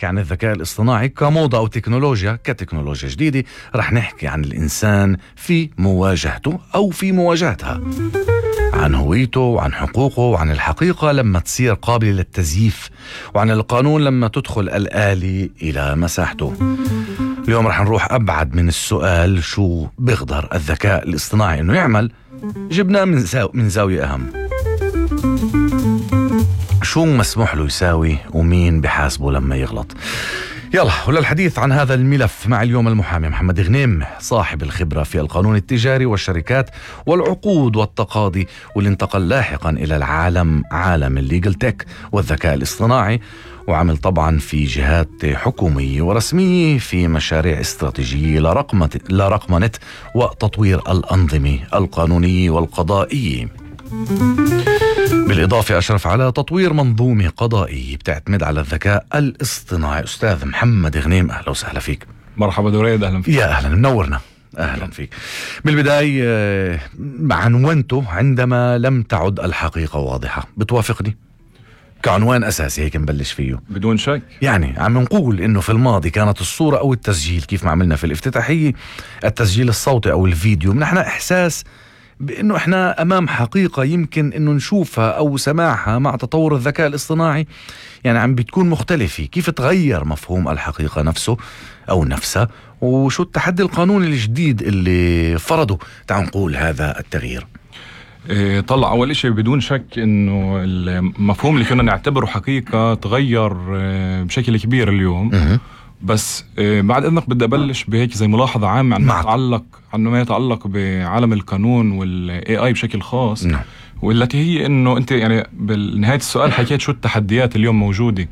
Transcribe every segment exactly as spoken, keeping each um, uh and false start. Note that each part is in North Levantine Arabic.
نحكي عن الذكاء الاصطناعي كموضة أو تكنولوجيا كتكنولوجيا جديدة. رح نحكي عن الإنسان في مواجهته أو في مواجهتها، عن هويته وعن حقوقه وعن الحقيقة لما تصير قابلة للتزييف، وعن القانون لما تدخل الآلة إلى مساحته. اليوم رح نروح أبعد من السؤال شو بيقدر الذكاء الاصطناعي إنه يعمل، جبناه من, زاو من زاوية أهم، شو مسموح له يساوي ومين بحاسبه لما يغلط. يلا وللحديث عن هذا الملف مع اليوم المحامي محمد غنيم، صاحب الخبرة في القانون التجاري والشركات والعقود والتقاضي، واللي انتقل لاحقا إلى العالم عالم الليجل تك والذكاء الاصطناعي، وعمل طبعا في جهات حكومية ورسمية في مشاريع استراتيجية لرقمنة, لرقمنة وتطوير الأنظمة القانونية والقضائية. بالإضافة أشرف على تطوير منظومة قضائية بتعتمد على الذكاء الاصطناعي. أستاذ محمد غنيم، أهلا وسهلا فيك. مرحبا دريد، أهلا فيك. يا أهلا، منورنا. أهلا فيك. بالبداية عنوانته عندما لم تعد الحقيقة واضحة، بتوافقني؟ كعنوان أساسي هيك نبلش فيه بدون شك. يعني عم نقول إنه في الماضي كانت الصورة أو التسجيل، كيف ما عملنا في الافتتاحية، التسجيل الصوتي أو الفيديو، من احنا إحساس بأنه إحنا أمام حقيقة يمكن أنه نشوفها أو سماعها. مع تطور الذكاء الاصطناعي يعني عم بتكون مختلفة. كيف تغير مفهوم الحقيقة نفسه أو نفسها، وشو التحدي القانوني الجديد اللي فرضه تعال نقول هذا التغيير؟ إيه طلع أول إشي بدون شك إنه المفهوم اللي كنا نعتبره حقيقة تغير بشكل كبير اليوم. م- بس بعد إذنك بدي أبلش بهيك زي ملاحظة عامة عن ما يتعلق عن ما يتعلق بعالم القانون والاي اي بشكل خاص. نعم. والتي هي إنه أنت يعني بالنهاية السؤال حكيت شو التحديات اليوم موجودة.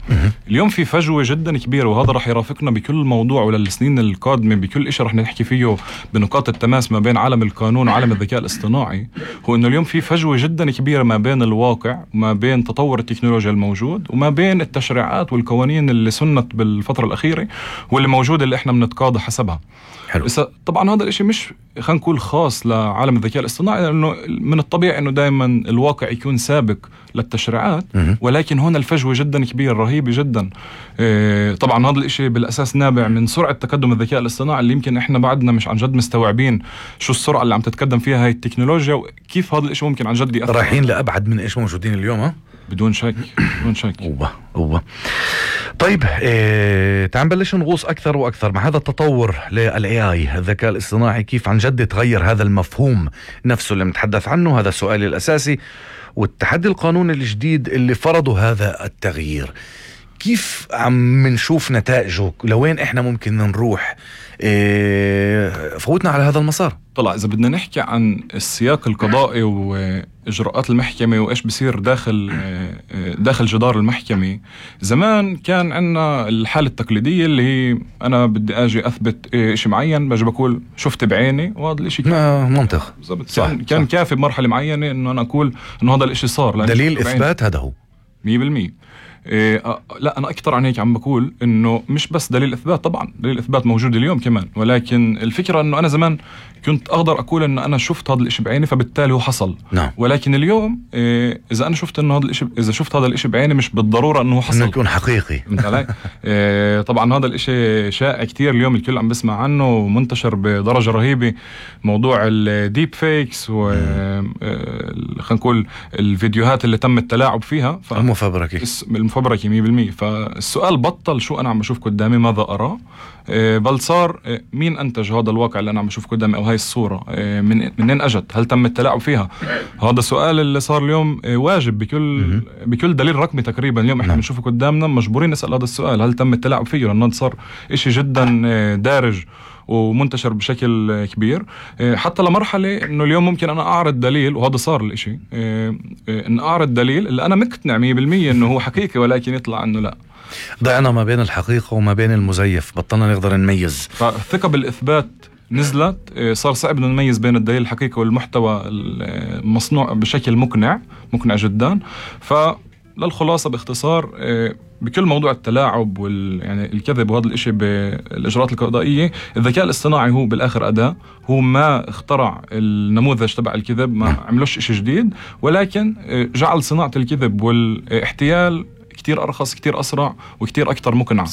اليوم في فجوة جدا كبيرة، وهذا رح يرافقنا بكل موضوع وللسنين القادمة بكل إشي رح نحكي فيه بنقاط التماس ما بين عالم القانون وعالم الذكاء الاصطناعي. هو إنه اليوم في فجوة جدا كبيرة ما بين الواقع وما بين تطور التكنولوجيا الموجود وما بين التشريعات والقوانين اللي سنت بالفترة الأخيرة واللي موجودة اللي إحنا بنتقاضى حسبها. حلو. طبعا هذا الاشي مش خلينا نقول خاص لعالم الذكاء الاصطناعي، لانه من الطبيعي انه دائما الواقع يكون سابق للتشريعات، ولكن هنا الفجوه جدا كبيره رهيبه جدا. إيه طبعا هذا الاشي بالاساس نابع من سرعه تقدم الذكاء الاصطناعي اللي يمكن احنا بعدنا مش عن جد مستوعبين شو السرعه اللي عم تتقدم فيها هاي التكنولوجيا وكيف هذا الاشي ممكن عن جد يأثر. رايحين لابعد من ايش موجودين اليوم. ها بدون شك بدون شك. أوه. أوه. طيب إيه تعال نبلش نغوص أكثر وأكثر مع هذا التطور للاي اي الذكاء الاصطناعي، كيف عن جد تغير هذا المفهوم نفسه اللي بنتحدث عنه. هذا السؤال الأساسي، والتحدي القانوني الجديد اللي فرضه هذا التغيير، كيف عم نشوف نتائجه، لوين احنا ممكن نروح. إيه فوتنا على هذا المسار. طلع إذا بدنا نحكي عن السياق القضائي وإجراءات المحكمة وإيش بصير داخل داخل جدار المحكمة، زمان كان عنا الحالة التقليدية اللي هي أنا بدي أجي أثبت إشي معين، باجي بقول شفت بعيني وهذا الإشي كان منطق. كان, كان كافي بمرحلة معينة إنه أنا أقول إنه هذا الإشي صار. دليل إثبات هذا هو مية بالمية. إيه لا أنا أكتر عن هيك عم بقول إنه مش بس دليل إثبات، طبعا دليل إثبات موجود اليوم كمان، ولكن الفكرة إنه أنا زمان كنت أقدر أقول إنه أنا شفت هذا الإشي بعيني فبالتالي هو حصل. نعم. ولكن اليوم إيه إذا أنا شفت إنه هذا الإشي إذا شفت هذا الإشي بعيني مش بالضرورة إنه هو حصل، إنه يكون حقيقي. إيه طبعا هذا الإشي شائع كتير اليوم، الكل عم بسمع عنه ومنتشر بدرجة رهيبة، موضوع الديب فيكس و إيه خلينا نقول الفيديوهات اللي تم التلاعب فيها ف... المفبركة المفبركة مية بالمية. فالسؤال بطل شو أنا عم بشوف قدامي ماذا أرى، بل صار مين أنتج هذا الواقع اللي أنا عم بشوف قدامي أو هاي الصورة من منين أجت، هل تم التلاعب فيها. هذا السؤال اللي صار اليوم واجب بكل بكل دليل رقمي تقريبا اليوم إحنا بنشوفه قدامنا مجبورين نسأل هذا السؤال، هل تم التلاعب فيه، لأنه صار إشي جدا دارج ومنتشر بشكل كبير، حتى لمرحلة إنه اليوم ممكن أنا أعرض دليل، وهذا صار الإشي إن أعرض دليل اللي أنا مقتنع مية بالمية إنه هو حقيقي ولكن يطلع إنه لا. ضعنا ما بين الحقيقة وما بين المزيف، بطلنا نقدر نميز. فالثقة بالإثبات نزلت، صار صعب نميز بين الدليل الحقيقي والمحتوى المصنوع بشكل مقنع مقنع جدا. ف للخلاصة باختصار بكل موضوع التلاعب وال يعني الكذب وهذا الاشي بالاجراءات القضائية، الذكاء الاصطناعي هو بالاخر أداة، هو ما اخترع النموذج تبع الكذب، ما عملوش اشي جديد، ولكن جعل صناعة الكذب والاحتيال كتير ارخص كتير اسرع وكتير اكتر مقنع.